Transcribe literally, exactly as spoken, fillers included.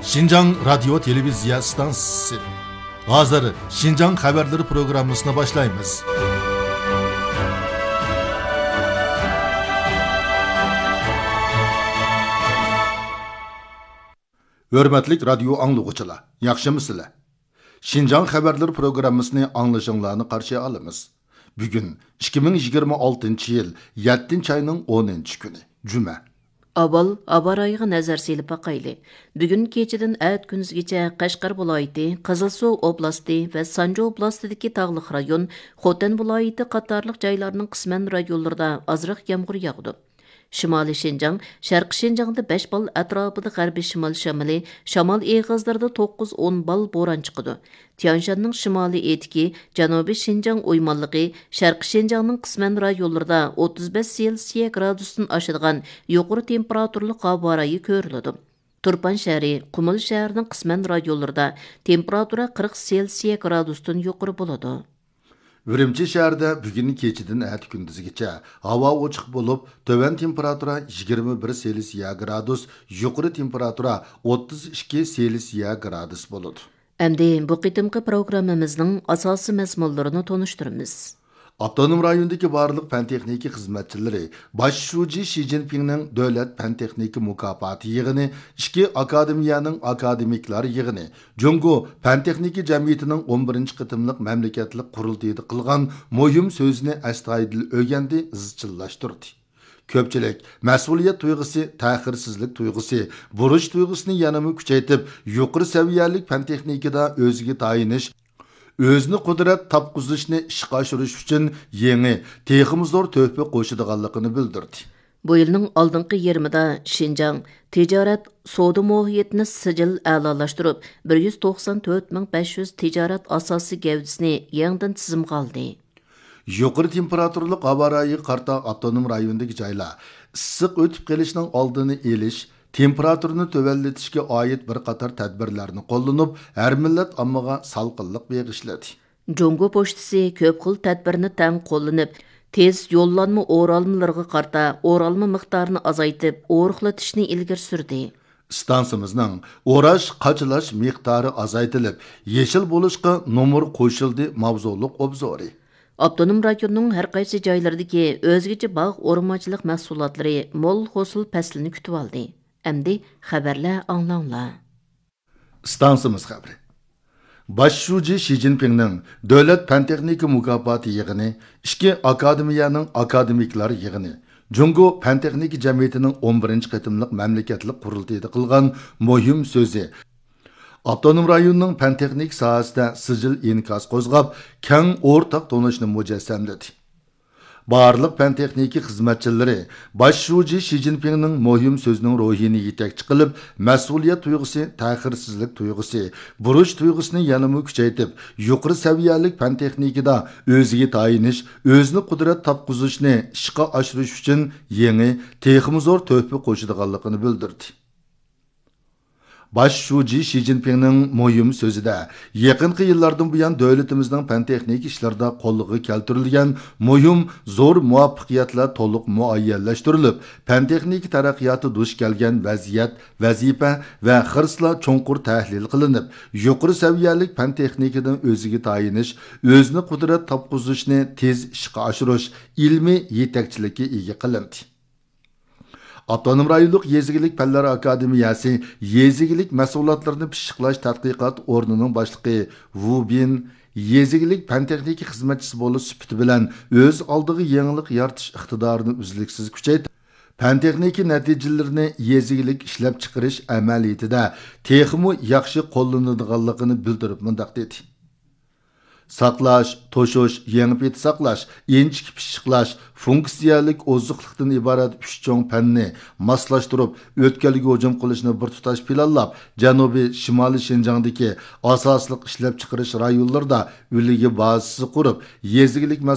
شىنجاڭ رادىيو تېلېۋىزىيە ئىستانسىسى. ھازىر شىنجاڭ خەۋەرلىرى پروگراممىسىنى باشلايمىز. ھۆرمەتلىك رادىيو ئاڭلىغۇچىلار، ياخشىمۇسىلەر؟ شىنجاڭ خەۋەرلىرى پروگراممىسىنى ئاڭلىشىڭلارنى قارشى ئالىمىز. بۈگۈن ئىككى مىڭ يىگىرمە ئالتىنچى يىل يەتتىنچى ئاينىڭ ئونىنچى كۈنى، جۈمە. ئاۋۋال ھاۋا رايىغا نەزەر سېلىپ باقايلى. بۈگۈن كېچىدىن ئەتە كۈندۈزگىچە قەشقەر ۋىلايىتى، قىزىلسۇ ئوبلاستى ۋە سانجى ئوبلاستىدىكى تاغلىق رايون، خوتەن ۋىلايىتى قاتارلىق جايلارنىڭ قىسمەن رايونلىرىدا ئازراق يامغۇر ياغىدۇ. شىمالىي شىنجاڭ، شەرقىي شىنجاڭدا بەش بال ئەتراپىدا غەربىي شىمال شامىلى، شامال ئېغىزلىرىدا توققۇز ئون بال بوران چىقىدۇ. تيەنشاننىڭ شىمالىي ئېتىكى، جەنۇبىي شىنجاڭ ئويمانلىقى، شەرقىي شىنجاڭنىڭ قىسمەن رايونلىرىدا ئوتتۇز بەش سېلسىيە گرادۇستىن ئاشىدىغان يۇقىرى تېمپېراتۇرىلىق ھاۋا رايى كۆرۈلىدۇ. تۇرپان شەھىرى، قۇمۇل شەھىرىنىڭ قىسمەن رايونلىرىدا تېمپېراتۇرا قىرىق سېلسىيە گرادۇستىن يۇقىرى بولىدۇ. ئۈرۈمچى شەھىرىدە بۈگۈن كېچىدىن ئەتە كۈندۈزگىچە ھاۋا ئوچۇق بولۇپ، تۆۋەن تېمپېراتۇرا يىگىرمە بىر سېلسىيە گرادۇس، يۇقىرى تېمپېراتۇرا ئوتتۇز ئىككى سېلسىيە گرادۇس بولىدۇ. ئەمدى بۇ قېتىمقى پروگراممىمىزنىڭ ئاساسىي مەزمۇنلىرىنى تونۇشتۇرىمىز. ئاپتونوم رايوندىكى بارلىق پەن تېخنىكا خىزمەتچىلىرى باش شۇجى شى جىنپىڭنىڭ دۆلەت پەن تېخنىكا مۇكاپاتى يىغىنى، ئىككى ئاكادېمىيەنىڭ ئاكادېمىكلار يىغىنى، جۇڭگو پەن تېخنىكا جەمئىيىتىنىڭ ئون بىرىنچى قېتىملىق مەملىكەتلىك قۇرۇلتىيىدا قىلغان مۇھىم سۆزىنى ئەستايىدىل ئۆگەندى، ئىزچىللاشتۇردى. كۆپچىلىك مەسئۇلىيەت تۇيغۇسى، تەخىرسىزلىك تۇيغۇسى، بۇرچ تۇيغۇسىنى يەنىمۇ كۈچەيتىپ، يۇقىرى سەۋىيەلىك پەن تېخنىكىدا ئۆزىگە تايىنىش، ئۆزىنى قۇدرەت تاپقۇزۇشنى ئىشقا ئاشۇرۇش ئۈچۈن يېڭى، تېخىمۇ زور تۆھپە قوشىدىغانلىقىنى بىلدۈردى. بۇ يىلنىڭ ئالدىنقى يېرىمىدا شىنجاڭ تىجارەت، سودا مۇھىتىنى سىجىل ئەلالاشتۇرۇپ، بىر يۈز توقسان تۆت مىڭ بەش يۈز تىجارەت ئاساسىي گەۋدىسىنى يېڭىدىن تىزىمغا ئالدى. يۇقىرى تېمپېراتۇرىلىق ھاۋا رايىغا قارىتا ئاپتونوم رايوندىكى جايلار ئىسسىق ئۆتۈپ قېلىشنىڭ ئالدىنى ئېلىش، تېمپېراتۇرىنى تۆۋەنلىتىشكە ئائىت بىر قاتار تەدبىرلەرنى قوللىنىپ، ھەر مىللەت ئاممىغا سالقىنلىق بېغىشلىدى. جۇڭگو پوچتىسى كۆپ خىل تەدبىرنى تەڭ قوللىنىپ، تېز يوللانما ئورالمىلىرىغا قارىتا ئورالما مىقدارىنى ئازايتىپ، ئورۇقلىتىشنى ئىلگىرى سۈردى. ئىستانسىمىزنىڭ ئوراش، قاچىلاش مىقدارى ئازايتىلىپ، يېشىل بولۇشقا نومۇر قوشۇلدى ماۋزۇلۇق ئوبزورى. ئاپتونوم رايوننىڭ ھەر قايسى جايلىرىدىكى ئۆزگىچە باغ ئورمانچىلىق مەھسۇلاتلىرى مول ھوسۇل پەسلىنى كۈتۈۋالدى. ئەمدى خەۋەرلەر ئاڭلاڭلار. ئىستانسىمىز خەۋىرى. باش شۇجى شى جىنپىڭنىڭ دۆلەت پەن تېخنىكا مۇكاپاتى يىغىنى، ئىككى ئاكادېمىيەنىڭ ئاكادېمىكلار يىغىنى، جۇڭگو پەن تېخنىكا جەمئىيىتىنىڭ ئون بىرىنچى قېتىملىق مەملىكەتلىك قۇرۇلتىيىدا قىلغان مۇھىم سۆزى ئاپتونوم رايوننىڭ پەن تېخنىكا ساھەسىدە سىجىل ئىنكاس قوزغاپ، كەڭ ئورتاق تونۇشنى مۇجەسسەملىدى. بارلىق پەن تېخنىكا خىزمەتچىلىرى باش شۇجى شى جىنپىڭنىڭ مۇھىم سۆزىنىڭ روھىنى يېتەكچى قىلىپ، مەسئۇلىيەت تۇيغۇسى، تەخىرسىزلىك تۇيغۇسى، بۇرچ تۇيغۇسىنى يەنىمۇ كۈچەيتىپ، يۇقىرى سەۋىيەلىك پەن تېخنىكىدا ئۆزىگە تايىنىش، ئۆزىنى قۇدرەت تاپقۇزۇشنى ئىشقا ئاشۇرۇش ئۈچۈن يېڭى، تېخىمۇ زور تۆھپە قوشىدىغانلىقىنى بىلدۈردى. باش شۇجى شى جىنپىڭنىڭ مۇھىم سۆزىدە، يېقىنقى يىللاردىن بۇيان دۆلىتىمىزنىڭ پەن تېخنىكا ئىشلىرىدا قولغا كەلتۈرۈلگەن مۇھىم، زور مۇۋەپپەقىيەتلەر تولۇق مۇئەييەنلەشتۈرۈلۈپ، پەن تېخنىكا تەرەققىياتى دۇچ كەلگەن ۋەزىيەت، ۋەزىپە ۋە خىرىسلار چوڭقۇر تەھلىل قىلىنىپ، يۇقىرى سەۋىيەلىك پەن تېخنىكىدىن ئۆزىگە تايىنىش، ئۆزىنى قۇدرەت تاپقۇزۇشنى تېز ئىشقا ئاشۇرۇش، ئىلمىي يېتەكچىلىككە ئىگە قىلىندى. ئاپتونوم رايونلۇق يېزا ئىگىلىك پەنلەر ئاكادېمىيەسى يېزا ئىگىلىك مەھسۇلاتلىرىنى پىششىقلاش تەتقىقات ئورنىنىڭ باشلىقى ۋۇ بىن يېزا ئىگىلىك پەن تېخنىكا خىزمەتچىسى بولۇش سۈپىتى بىلەن ئۆز ئالدىغا يېڭىلىق يارىتىش ئىقتىدارىنى ئۈزلۈكسىز كۈچەيتىپ، پەن تېخنىكا نەتىجىلىرىنى يېزا ئىگىلىك ئىشلەپچىقىرىش ئەمەلىيىتىدە تېخىمۇ ياخشى قوللىنىدىغانلىقىنى بىلدۈرۈپ مۇنداق دېدى. ساقلاش، توشۇش، يېڭى پېتى ساقلاش، ئىنچىكە پىششىقلاش، فۇنكسىيەلىك ئوزۇقلۇقتىن ئىبارەت ئۈچ چوڭ پەننى ماسلاشتۇرۇپ، ئۆتكەلگە ھۇجۇم قىلىشنى بىر تۇتاش پىلانلاپ، جەنۇبىي، شىمالىي شىنجاڭدىكى ئاساسلىق ئىشلەپچىقىرىش رايونلىرىدا ئۈلگە بازىسى قۇرۇپ، يېزا ئىگىلىك